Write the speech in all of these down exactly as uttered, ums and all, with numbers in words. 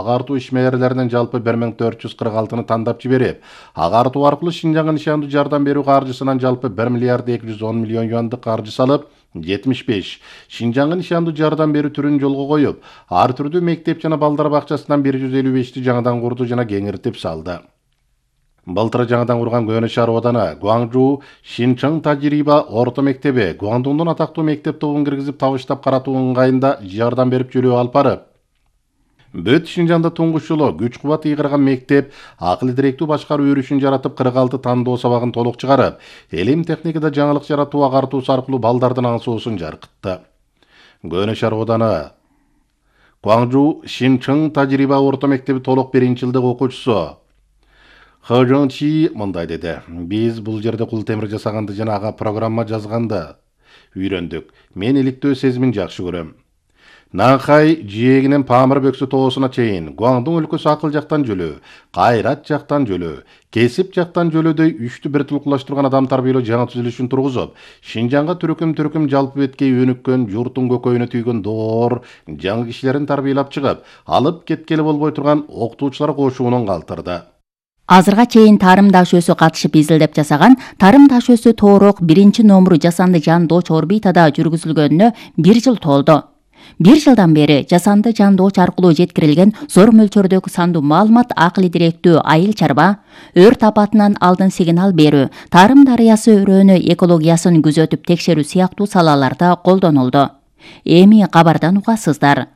Агартуу ишмерлеринин жалпы бир миң төрт жүз кырк алтыны тандап жиберип, агартуу аркылуу Шинжаңга нишандуу жардам берүү каржысынан жалпы bir миллиард эки жүз он миллион юандык каржы салып, жетимиш беш Шинжаңга нишандуу жардам берүү түрүн жолго коюп, ар түрдүү мектеп жана балдар бакчасынан bir жүз элүү бешти жаңадан курду жана кеңиртип салды. Былтыр жаңадан курган Көнө шаар ооданы Гуаңжу Шинчың Тажириба орто мектеби Гуаңдуңдун атактуу мектеп тобун киргизип табыштап каратуу ыңгайында жардам берип жөлөө алып барып, Бүт Шинжаңда туңгуч жолу күч кубат ыйгырган мектеп акыл директүү башкаруу өрүшүн жаратып кырк алты тандоо сабагын толук чыгарып, элим техникада жаңылык жаратуу агартуусу аркылуу балдардын аңсоосун жаркытты. Көнө шаар ооданы Гуаңжу Шинчың Тажириба орто мектеби толук биринчи жылдык окуучусу Хэ Жон Чи мындай деди: Биз бул жерде кул темир жасаганды жана ага программа жазганды үйрөндүк. Мен иликтөө сезимин жакшы көрөм. Нанхай жээгинен Памыр бөксү тоосуна чейин Гуаңдуң өлкөсү акыл жактан жөлөө, кайрат жактан жөлөө, кесип жактан жөлөөдөй үчтү бир тулкулаштырган адам тарбиялоо жаңы түзүлүшүн тургузуп, Шинжаңга түркүм-түркүм жалпы беткей өнүккөн, журттун көкөйүнө түйгөн доор жаңы кишилерин тарбиялап чыгып, алып кеткели болбой турган окутуучулар кошуунун калтырды. Азырга чейин тарым дашөөсү катышып изилдеп жасаган тарым дашөөсү тоорок биринчи номуру жасанды жандооч орбитада жүргүзүлгөнүнө бир жыл толду. Бир жылдан бери жасанды жандооч аркылуу жеткирилген зор мөлчөрдөгү сандуу маалымат акыл директүү айыл чарба, өрт апатынан алдын сигнал берүү, тарым дарыясы өрөөнү экологиясын күзөтүп текшерүү сыяктуу салаларда колдонулду. Эми кабардан угасыздар.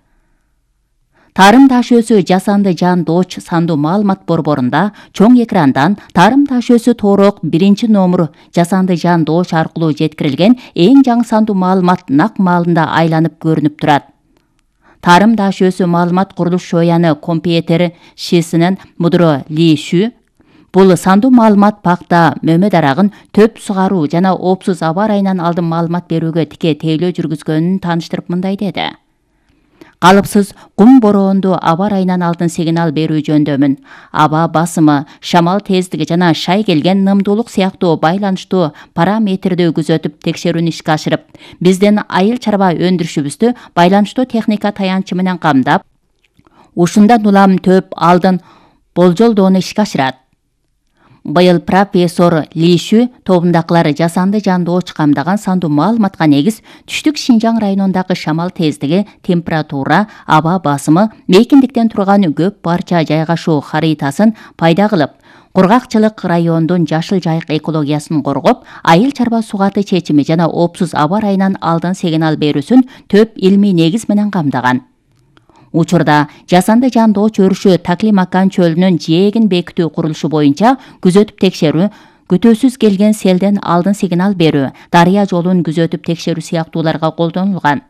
Тарым дашөөсү жасанды жандооч сандуу маалымат борборунда чоң экрандан тарым дашөөсү тоорок биринчи номуру жасанды жандооч аркылуу жеткирилген эң жаңы сандуу маалымат нак маалында айланып көрүнүп турат. Тарым дашөөсү маалымат курулуш шояны компьютер шисинен Мудро Ли Шү бул сандуу маалымат пакта, мөмө дарагын төп сугаруу жана оопсуз аба ырайынан алдын маалымат берүүгө тике тейлөө жүргүзгөнүн тааныштырып мындай деди: Калыпсыз кум бороонду аба ырайынан алдын сигнал берүү жөндөмүн, аба басымы, шамал тездиги жана шай келген нымдуулук сыяктуу байланыштуу параметрди күзөтүп текшерүүнү ишке ашырып, биздин айыл чарба өндүрүшүбүздү байланыштуу техника таянчы менен камдап, ушундан улам төп алдын болжолдоону ишке ашырат. Быйыл профессор Ли Шү тобундакылар жасанды жандооч камдаган сандуу маалыматка негиз түштүк Шинжаң районундагы шамал тездиги, температура, аба басымы, мейкиндиктен турган көп парча жайгашуу харитасын пайда кылып, кургакчылык райондун жашыл жайык экологиясын коргоп, айыл чарба сугаты чечими жана оопсуз аба ырайынан алдын сигнал берүүсүн төп илмий негиз менен камдаган. Учурда жасанды жандооч өрүшү Таклимакан чөлүнүн жээгин бекитүү курулушу боюнча күзөтүп текшерүү, күтүүсүз келген селден алдын сигнал берүү, дарыя жолун күзөтүп текшерүү сыяктууларга колдонулган.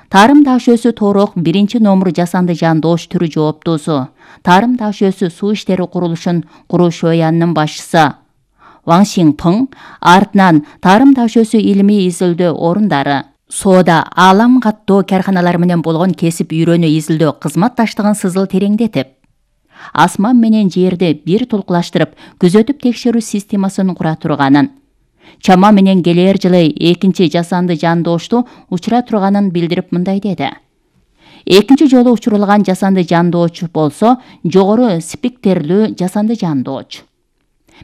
Тарым дашөөсү тоорок биринчи номуру жасанды жандооч түрү жооптуусу, тарым дашөөсү суу иштери курулушун куруу шоянынын башчысы Ван Сиңпың, артынан тарым дашөөсү илимий изилдөө орундары, соода, аалам каттоо карканалары менен болгон кесип үйрөнүү изилдөө кызматташтыгын сызыл тереңдетип, асман менен жерди бир тулкулаштырып күзөтүп текшерүү системасын кура турганын, чама менен келер жылы экинчи жасанды жандоошту учура турганын билдирип мындай деди: Экинчи жолу учурулган жасанды жандооч болсо жогору спектрлүү жасанды жандооч.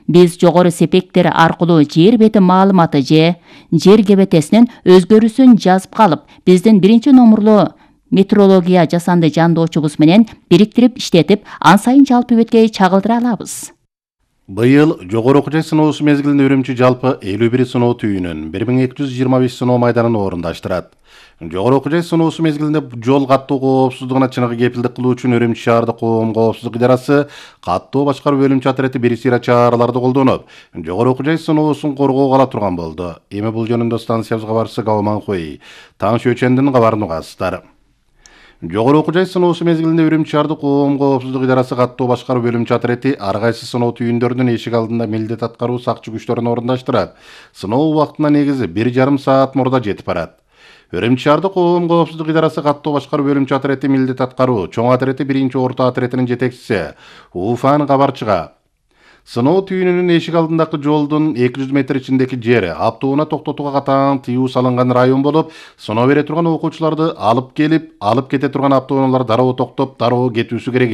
Биз жогору спектр аркылуу жер бети маалыматы же жер кебетесинин өзгөрүүсүн жазып калып, биздин биринчи номурлуу метеорология жасанды жандоочубуз менен бириктирип иштетип, ан сайын жалпы беткей чагылдыра алабыз. Быйыл жогору окуу жай сыноосу мезгилинде Үрүмчү жалпы элүү бир сыноо түйүнүн bir ming iki yüz yirmi beş сыноо майданын орундаштырат. Жогору окуу жай сыноосу мезгилинде жол каттоо коопсуздугуна чыныгы кепилдик кылуу үчүн Үрүмчү шаардык коом коопсуздук идарасы каттоо башкаруу бөлүмчө отряды бир сыйра чараларды колдонуп, жогору окуу жай сыноосун коргоого ала турган болду. Эми бул жөнүндө станциябыз кабарчысы Гаоман Хуэй Таң Шөчөндүн кабарын угасыздар. Жогору окуу жай сыноосу мезгилинде Үрүмчү шаардык коом коопсуздук идарасы каттоо башкаруу бөлүмчө отряды ар кайсы сыноо түйүндөрүнүн эшик алдында милдет аткаруу сакчы күчтөрүн орундаштырат. Сыноо убактына негизи бир жарым саат мурда жетип барат. Үрүмчү шаардык коом коопсуздук идарасы каттоо башкаруу бөлүмчө отряды милдет аткаруу чоң отряды биринчи орто отрядынын жетекчиси Уфан кабарчыга сыноо түйүнүнүн эшик алдындагы жолдун эки жүз метр ичиндеги жери автоунаа токтотууга катаң тыюу салынган район болуп, сыноо бере турган окуучуларды алып келип, алып кете турган автоунаалар дароо токтоп, дароо кетүүсү керек